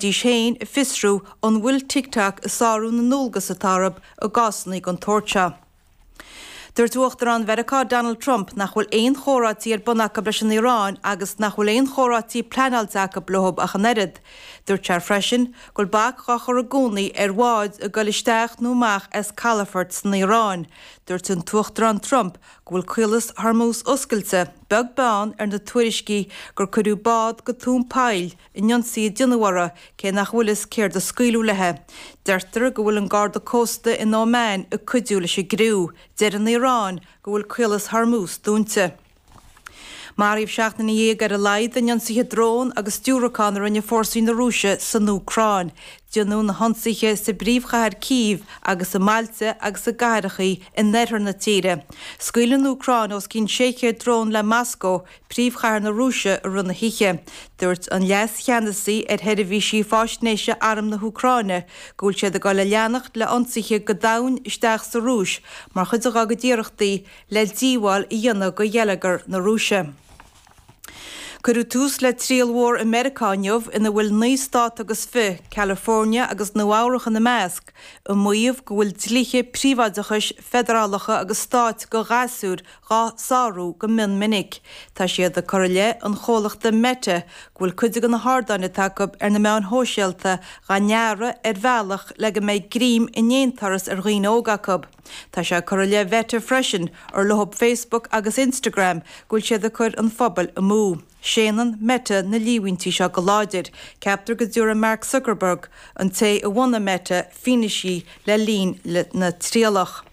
Dís féin ag fiosrú an bhfuil TikTok ag sárú na ndualgas atá orthu i gcásanna den tsórt seo. Dúirt Uachtarán Mheiriceá Donald Trump nach bhfuil aon chomhráití ar bun acu leis an Iaráin agus nach bhfuil aon chomhráití pleanáilte acu leo ach an oiread. Dúirt sé freisin go bhfuil bac dhá chur i gcónaí ar bháid ag goil isteach nó amach as calafort san Iaráin. Dúirt an tUachtarán Trump go bhfuil Caolas Hormuz oscailte, beag beann ar na tuairiscí gur cuireadh bád go tóin poill in ionsaí a déanadh orthu, cé nach bhfuil fhios céard a scaoileadh léi. Deirtear go bhfuil an Garda Cósta in Óman ag cuidiú leis an gcriú. Deir an Iaráin go bhfuil Caolas Hormuz dúnta. Maraíodh 17 nduine ar a laghad in ionsaithe drón agus diúracán a rinne fórsaí na Rúise san Úcráin. Déanadh na hionsaithe sa bpríomhchathair Cív agus i mbailte agus i gcathrachaí in oirthear na tíre. Scaoil an Úcráin os cionn 600 drón le Moscó, príomhchathair na Rúise, i rith na hoíche. Dúirt an leas-cheannasaí ar sheirbhísí faisnéise Arm na hÚcráine go bhfuil siad ag dul a leanacht le ionsaithe go domhain isteach sa Rúis mar chuid dá gcuid iarrachtaí le díobháil a dhéanamh do gheilleagar na Rúise. Cuireadh tús le triail mhór i Meiriceá inniu ina bhfuil 9 stát agus fi, California agus Nua Eabhrach ina measc, ag maíomh go bhfuil dlíthe príobháideachais feidearálacha agus stáit do ghasúir dhá sárú go mion minic. Tá siad ag cur i leith an chomhlachta Meta go bhfuil cuid de na hardáin atá acu ar na meáin shóisialta dhá ndearadh ar bhealach le go mbeidh greim in aon turas ar dhaoine óga acu. Tá sé ag cur i leith Mheta freisin, ar leo Facebook agus Instagram, go bhfuil siad ag cur an phobail amú. Séanann Meta na líomhaintí seo go láidir. Ceaptar go dtabharfaidh Mark Zuckerberg, an té a bhunaigh Meta, fianaise le linn na trialach.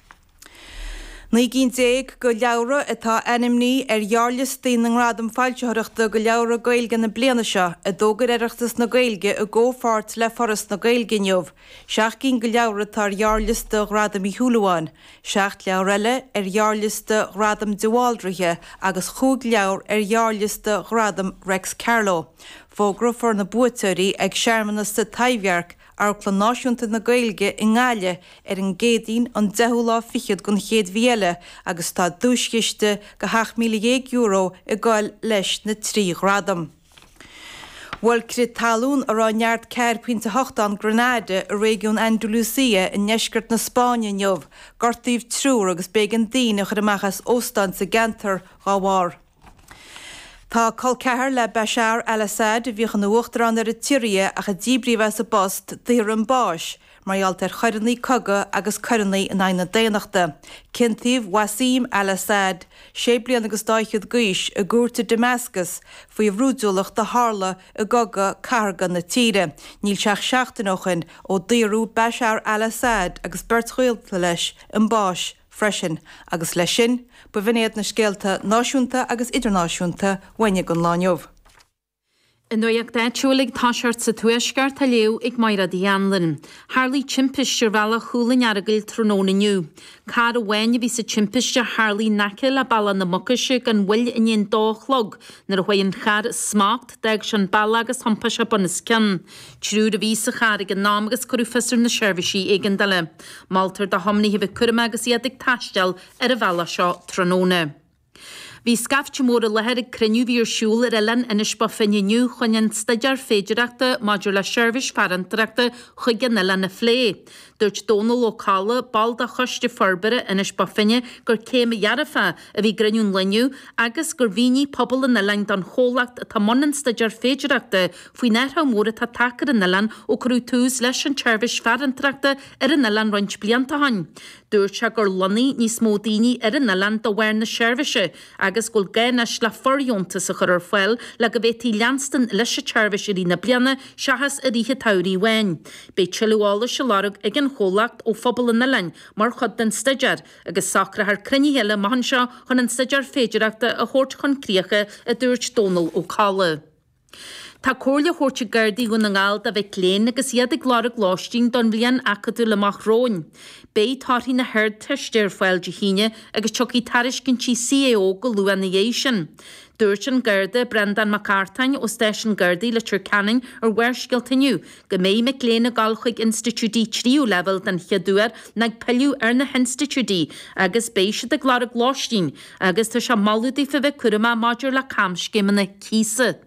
19 gcinn de leabhra atá ainmnithe ar ghearrliostaí na nGradam Foilsitheoireachta do Leabhra Gaeilge na bliana seo, a d'fhógair Oireachtas na Gaeilge i gcomhpháirt le Foras na Gaeilge inniu. 7 gcinn de leabhra atá ar ghearrliosta Ghradam Uí Shúilleabháin, 7 leabhar eile ar ghearrliosta Ghradam de Bhaldraithe agus chúig leabhar ar ghearrliosta Ghradam Reics Carló. Fógrófar na buaiteoirí ag searmanas sa Taibhdhearc Amharclann Náisiúnta na Gaeilge i nGaillimh ar an gCéadaoin an deichiú lá fichead den chéad mhí eile agus tá duaischiste de €17,000 ag goil leis na 3 ghradam. Bhuail crith talún a raibh neart 4.8 ann Granada i réigiún Andalusia i ndeisceart na Spáinne inniu. Gortaíodh triúr agus b'éigean daoine a chur amach as óstáin sa gceantar dá bharr. Tá col ceathar le Bashar al-Assad, a bhíodh ina uachtarán ar an tSiria ach a díbríodh as an bpost, daortha chun báis mar gheall ar choireanna cogaidh agus coireanna in aghaidh na daonnachta. Ciontaíodh Wassim al-Assad, sé bliana agus dá fhichead d'aois, i gcúirt i Damascus faoi bhrúidiúlacht a tharla i gcogadh cathartha na tíre. Níl sé ach seachtain ó shin ó daoradh Bashar al-Assad agus beirt ghaolta leis chun báis. freisin. Agus leis sin, ba bh'in iad na scéalta náisiúnta agus idirnáisiúnta uainne don lá inniu. An nuacht áitiúil ag toiseacht sa Tuaisceart á léamh ag Mairéad Uí Anluain. Tharlaigh timpiste ar bhealach Chúil an Earagail tráthnóna inniu. Carr amháin a bhí sa timpiste a tharlaigh in aice le Bealach na Mucaise gan mhoill i ndiaidh an dó a chlog nuair a chuaigh an carr as smacht, d'fhág sé an bealach agus thiompaigh sé bunoscionn. Triúr a bhí sa charr ag an am agus cuireadh fios ar na seirbhísí éigeandála. Moltar do thiománaithe a bheith cúramach agus iad ag taisteal ar an bhealach seo tráthnóna. Bhí scaifte mór i láthair ag cruinniú a bhí ar siúl ar oileán Inis Bó Finne inniu chun an staidéar féidearthachta maidir le seirbhís farantóireachta chuig an oileán a phlé. Dúirt Dónal Ó Colla, ball de Choiste Forbartha Inis Bó Finne, gur céim dhearfach a bhí i gcruinniú an lae inniu agus gur mhínigh pobal an oileáin don chomhlacht atá i mbun an staidéir féidearthachta faoin athrú mór atá tagtha ar an oileán ó cuireadh tús leis an tseirbhís farantóireachta ar an oileán roinnt blianta ó shin. Dúirt sé gur lonnaigh níos mó daoine ar an oileán de bharr na seirbhíse agus go bhfuil gá anois le fordheontas a chur ar fáil le go bhféadfaí leanstan leis an tseirbhís i rith na bliana seachas i rith an tsamhraidh amháin. Beidh tuilleadh eolais á lorg ag an chomhlacht ó phobal an oileáin mar chuid den staidéar agus socrófar cruinnithe eile amach anseo chun an staidéar féidearthachta a thabhairt chun críche, a dúirt Dónal Ó Colla. Tá comhairle á thabhairt ag Gardaí Dhún na nGall do mhic léinn agus iad ag lorg lóistín don bhliain acadúil amach romhainn. Beidh torthaí na hArdteiste ar fáil Dé hAoine agus tiocfaidh tairiscintí CAO go luath ina dhiaidh sin. Dúirt an Garda Breandán Mac Artáin ó Stáisiún Gardaí Leitir Ceanainn ar Bharrscéalta inniu go mbeidh mic léinn ag dul chuig institiúidí tríú leibhéal den chéad uair nó ag pilleadh ar na hinstitiúidí agus beidh siad ag lorg lóistín agus tá sé ag moladh daofa bheith cúramach maidir le camscéimeanna cíosa.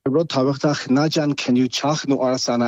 Rud tábhachtach, ná déan cinneadh teach nó árasán a.